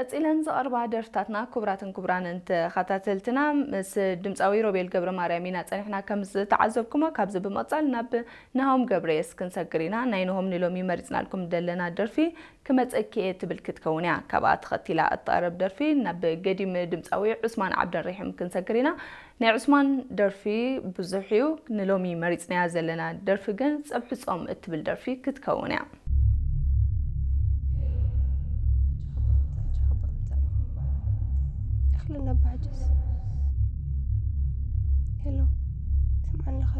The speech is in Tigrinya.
ቀጺለን ዝቐርባ ደርፍታትና። ክቡራትን ክቡራንን ተኸታተልትና፣ ምስ ድምጻዊ ሮቤል ገብረ ማርያም ኢና ጸኒሕና። ከም ዝተዓዘብኩሞ፣ ካብዚ ብምቕጻል ናብ ናሆም ገብረየስ ክንሰግር ኢና። ናይ ናሆም ንሎሚ መሪጽናልኩም ዘለና ደርፊ ክመጸኪ እየ ትብል ክትከውን እያ። ካብኣ ተኸቲላ እትቐርብ ደርፊ ናብ ገዲም ድምጻዊ ዑስማን ዓብደልረሒም ክንሰግር ኢና። ናይ ዑስማን ደርፊ ብዙሕ እዩ። ንሎሚ መሪጽናያ ዘለና ደርፊ ግን ጸብሒ ጾም እትብል ደርፊ ክትከውን እያ። እኽሊ ነባሕጅስ። ሄሎ፣ ስምዓኒ ኸ?